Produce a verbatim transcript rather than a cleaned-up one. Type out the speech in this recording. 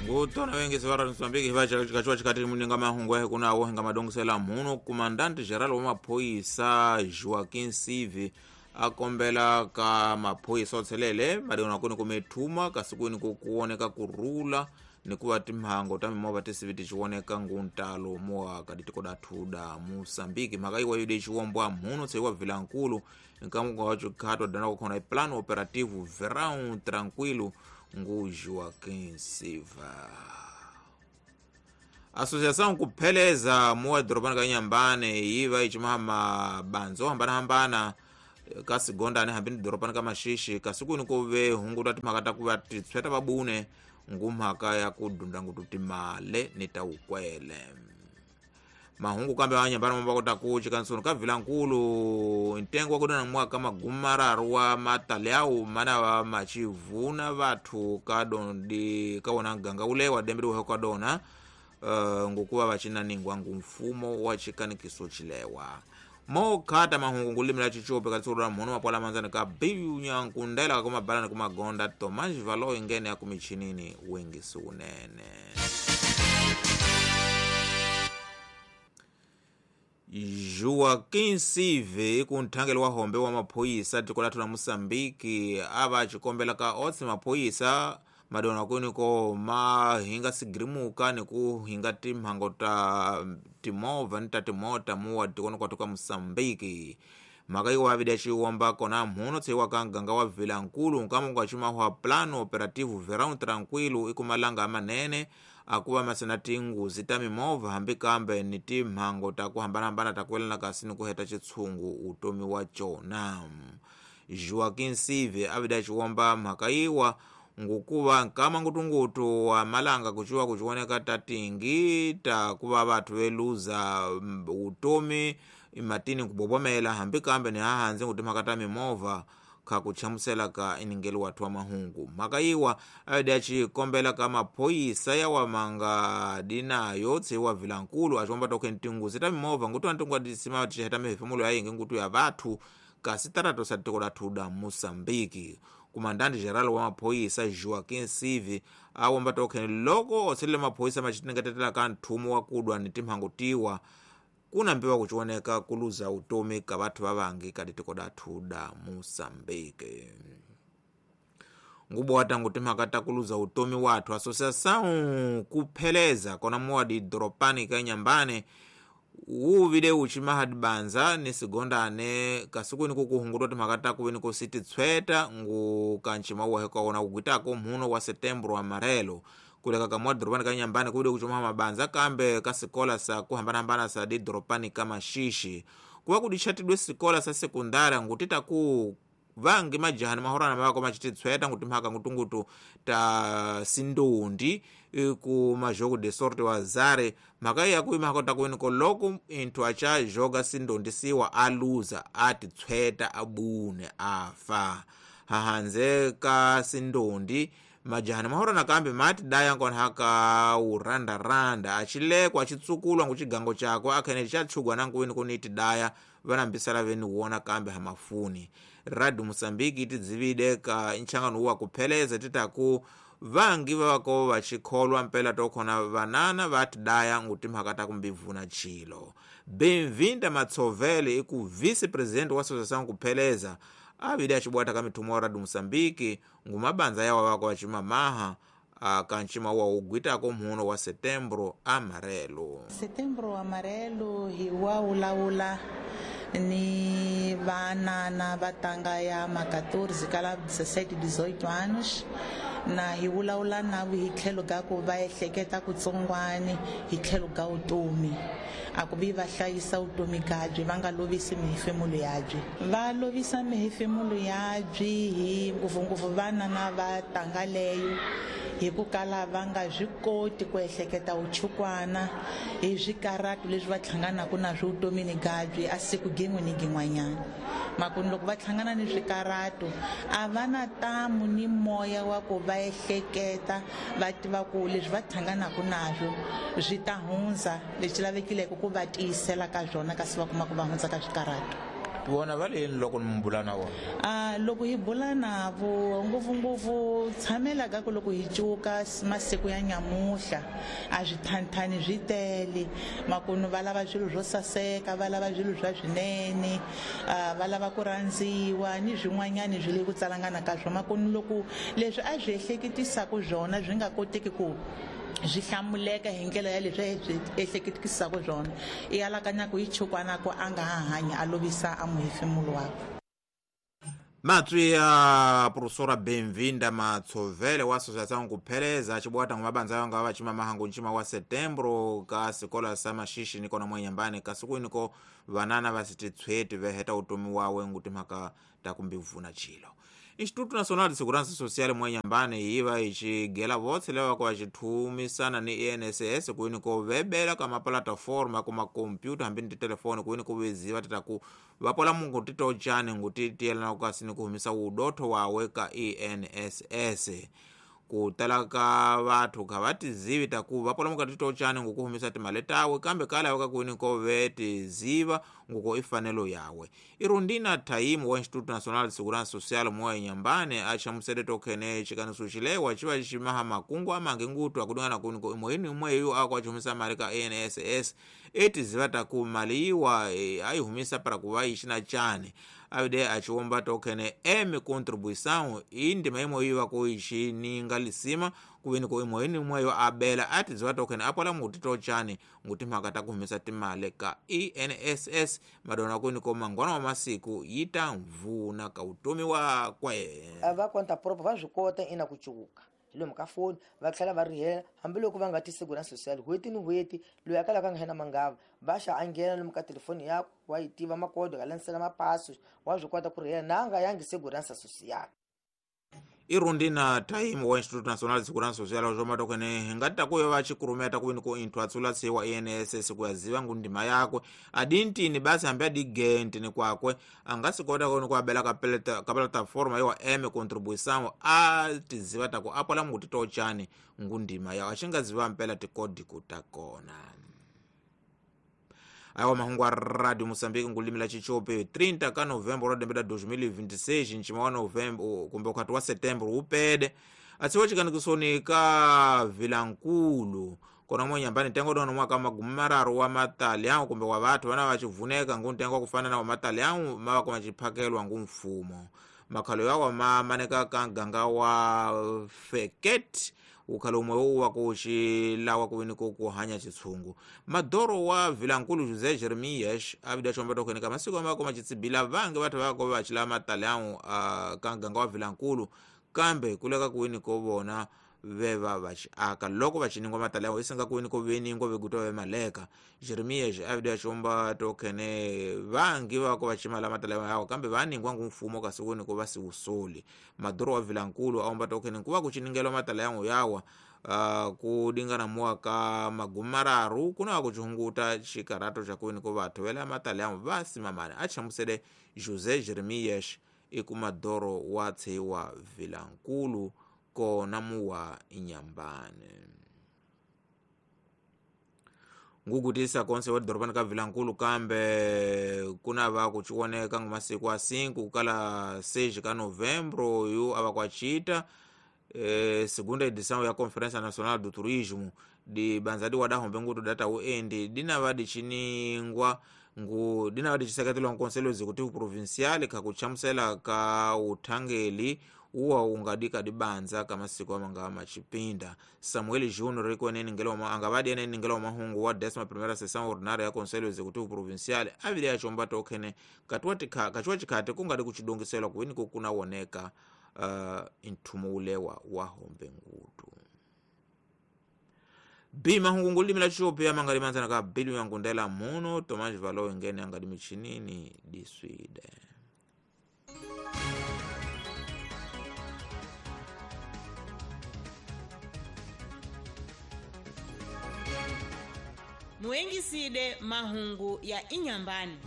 Ngutona wengi sivara Mozambique hivacha chikachiwa chikati muninga mahungu yahe kunawo hinga madongisela mhuno Comandante Geral wa maphoyisa Joaquim Sivi akombela ka maphoyisa otselele madona kuni kumethuma kasi kwini kukuoneka kurula nikuva timhango ta mimovha tisivi tichioneka nguntalo moaka ditiko dathu da Moçambique mhaka iwa yode chiwombwa mhuno tseiwa vilankulu nkamuka wa chikhato dana kukhona iplano operativo verão tranquilo ngu Joaquim Silva. Associação kupheleza muwa doropani ka Inhambane yiva ichimaha mabanzo hambana-hambana kasigondane hambini doropani ka Maxixi kasi kuni kuve hunguta timhaka ta kuva titshweta vabune ngumhaka ya kudunda ngutu timale ni ta ukwele. Mahungu kambe wa Inhambane mamba kota kuchi kansunu ka vilankulu ntengo wa kudona mwaka magumararu wa mataliau mana wa machivuna vathu kadondi kawona ganga ule wa dembele uhe kadona uh, ngukuva vachinaningwa ngumfumo wa chikanikiso chilewa mokhata mahungu ngulimila chichope katsura mhono mapwala manzani ka biu nyankundela kakumabalani kumagonda Tomás Valo ingene ya kumichinini wengi sunene. Joaquim Sive kunthangelo wa hombe wa maphoyisa tiko lathu la Moçambique ava chikombela ka otse maphoyisa madona kuniko mahinga sigirimuka ni kuhinga timhango ta timovha ni ta timota muwa tikoni kwathu ka Moçambique mhaka iwa avida chiwomba kona mhuno tseiwa ka nganga wa vilankulu nkamunga chimahwa plano operativo verão tranquilo ikumalanga amanene akuva masina tinguzi ta mimovha hambi kambe ni timhango ta ku hambanahambana ta kuelana kasi ni ku heta chitshungu utomi wa cona. Joaquim Sive avida chiwomba mhaka iwa ngukuva nkama ngutungutu wa malanga kuchiwa kuchioneka tatingi ta kuva vathu veluza utomi imatini kubobomela hambi kambe ni hahanze ngutimhaka ta mimovha khakuchamusela ka iningelo wathu wa mahungu mhaka iwa avida chikombela ka maphoyisa yawa manga dinayo tseiwa vilankulu achiomba tokhe ntinguzi ta mimovha ngutu antingwa tisima tiheta mihefemulo yayingi ngutu ya vathu kasi tarato sa tiko lathu da Moçambique. Comandante Geral wa maphoyisa Joaquim Sivi awomba tokhe loko otselele maphoyisa machitingatetela ka nthumo wa kudwa ni timhango tiwa kuna mbiwa kuchioneka kuluza utomi ka vathu vavangi ka ditiko dathu da Moçambique. Ngubo watangu timhaka ta kuluza utomi wathu Associação kupheleza kona muwa di doropani ka Inhambane uvile uchimaha dibanza ni sigondane kasikuni kukuhungutwa timhaka ta kuveni kusiti tshweta ngu kanchima uwahe kaona kugwitako mhuno wa setembro amarelo kuleka kamwa doropani ka Inhambane kuvile kuchimaha mabanza kambe kasikola sa kuhambanahambana sa di doropani ka Maxixi kuva kudichatidwe sikola sa sekundara ngutita ku vangi majahani mahorana mavako machititshweta nguti mhaka ngutungutu ta sindondi ku majogo de sorte wa zare mhaka iya kuima hakota kuweniko loko inthu acha joga sindondi siwa aluza atitshweta abune afa hahanze ka sindondi majahani mahorana kambe mati daya nkona haka urandaranda achilekwa achitsukulwa nguchigango chako akhene chatshugwa nankuweni kuniti daya vanambisala veni wona kambe hamafuni. Radio Moçambique itidzivide ka nchangano wa kupheleza titaku vangi vavako vachikholwa mpela tokhona vanana vati daya nguti mhaka ta kumbivuna chilo. Benvinda Matsovele iku vice-president wa Associação kupheleza avide achibwata ka mithumo wa Radio Moçambique ngumabanza yawa vako vachimamaha kanchima wa ugwitako mhuno wa setembro amarelo. Setembro amarelo hi wa ulawula ni vanana va tanga ya ma quatorze kala dezessete dezoito anos na hi vulavula na hi tlhelo ka ku va ehleketa kutsongwani hi tlhelo ka vutomi a ku vi va hlayisa vutomi byi va nga lovisi mihefemulo yabyi va lovisa mihefemulo yabyi hi ngopfungopfu vana na va tanga leyo hi ku kala va nga swi koti ku ehleketa vuchukwana hi swikaratu leswi va hlanganaka na swo vutomini byi a siku gin'we ni gin'wanyana makuni loko va hlangana ni swikaratu a va na tamu ni moya wa ku va ehleketa va tiva ku leswi va hlanganaka naswo swi ta hundza leswi lavekileke ku va tiyisela ka swona kasi va kuma ku va hundza ka swikaratu. Vona va le loko mi bula na vona? A loko hi bula na vo ngopfungopfu tshamela ka ku loko hi cuka masiku ya nyamuhla a swi thanthani swi tele makunu va lava swilo swo saseka, va lava swilo swa swinene, va lava ku rhandziwa ni swin'wanyani swi le ku tsalangana ka swona. Makunu loko leswi a swi ehleketisaka swona swi nga koteki ku swi hlamuleka hi ndlela ya leswi swi ehleketisaka swona, i alakanya ku yi chukwana ku a nga ha hanyi a lovisa a muhefemulo wakwe. Matswi ya professora Benvinda Matsovele wa Associação Kupheleza chibwata ngwa yanga wa chima mahangu nchima wa setembro ka sikola sa mashishi niko na mwenyambane kasiku niko vanana vasititsweti veheta utomi wawe nguti mhaka takumbivuna chilo. Instituto Nacional de Segurança Social mwenyambane iva ichigela votse leva kwa chithumisana ni I N S S kuini ko vebela kama plataforma kuma kompyuta hambi ni telefoni kuini ko veziva tataku vapola mungu titochane nguti tiyelana kukasini kuhumisa udotho wawe ka I N S S. Kutala ka vathu kha vatizivi taku vapola mungu titochane ngukuhumisa timali tawe kambe kala waka kuini ko vetiziva nguko ifanelo yawe. Irundina Taimu wa Instituto Nacional de Segurança Social mwa Nyambane achamusele tokhene chikaniso chilewa chiva chimaha makungu amange ngutu akudungana kuini ko imweni imweyo akwachumisa mali ka I N S S etiziva taku mali iwa e, ayihumisa para kuva ichina chane avide achiomba tokhene emi contribuição indima imwe iwa kuichininga lisima kuveni ko imweni imweyo abela atiziva tokhene apola muti tochane nguti mhaka takuhumisa timali ka I N S S madona kuni ko mangwana wa masiku yita mvuna ka utomi wakwe. Va conta própria va swi kota ina ku cuka hi lomu ka foni va tlhela va rihela hambiloko va nga ti segurança social n'hweti ni n'hweti loyi a kalaka a nga hena mangava va xa a nghena lomu ka telefoni yakwe wa yi tiva makodo ka landzela mapaso wa swi kota ku rihela na a nga yangi segurança social. Irundina Taimu wa Instituto Nacional de Segurança Social zvo matokene hingati kuyo vachikurumeta kuvini ko inthu atsulatsiwa I N S S kuyaziva ngundima yakwe adintini basi hambi adigentini kwakwe angasikota koni kuabela ka plataforma yowa M contribuição atiziva taku apola muti tochani ngundima yawo achingaziva mpela tikodi kutakona. Awa mahungu a Radio Moçambique ngulimila chichope trinta ka novembro ra dembela dois mil e vinte e seis nchima wa novembro kumbe ukhati wa setembro upede atsiwa chikanikisoni ka Vilankulu kona mwenyambani ntengo dono mwaka magumi mararu wa matalião kumbe wa vathu vana vachivuneka ngu ntengo kufana na wa matalião mava koma chiphakelwa ngu mfumo makhalo yawa mamaneka ka nganga wa Feket ukhalo umwe uwa kuxilawa kuvini ko kuhanya chitshungu. Madoro wa Vilankulu José Jeremias avida chomba tokhene ka masiku amako machitsibila vange vathu vako vachila matalião uh, ka nganga wa Vilankulu kambe kuleka kuwini ko vona veva vachiaka loko vachiningwa matalião isinga kuwini ko veningwa vegutwa vemaleka. Jeremias avida chomba tokhene vangi vako vachimala matalião yawo kambe vaningwa ngu mfumo kasi kuwini ko vasiwusoli. Madoro wa Vilankulu aomba tokhene nkuva kuchiningelwa matalião yawa uh, kudingana mwaka magumi mararu kuna kuchihunguta chikarato cha kuwini ko vathu vela matalião vasimamane achamusele José Jeremias ikumadoro wa tseiwa Vilankulu kona muwa Inyambane. Ngugutisa konse wa doropani ka Vilankulu kambe kuna va kuchioneka ngumasiku a cinco kala seis ka novembro yu ava kwachita eh, segunda edição ya Conferência Nacional do Turismo di banzadi wadahombe ngutu data uendi dina vadi chiningwa ngu dina vadi chiseketeliwa nkonselho executivo provincial kakuchamusela ka uthangeli uwa ungadika dibanza kamasiku amanga machipinda. Samuel Junior rikwenene ngelo angavadi ene ngelo mahungu wa décima primeira sessão ordinária ya Conselho Executivo Provincial avile achomba tokhene katuwa tikha kachuwa chikhate kungadi kuchidongiselwa kuwini kukunawoneka uh, inthumo ulewa wa hombe ngutu. B mahungu ngulimila chope amangali manzana ka bilu yangundela muno Tomás Valo ingene angadi michinini diswide. Muengiside mahungu ya Inyambani.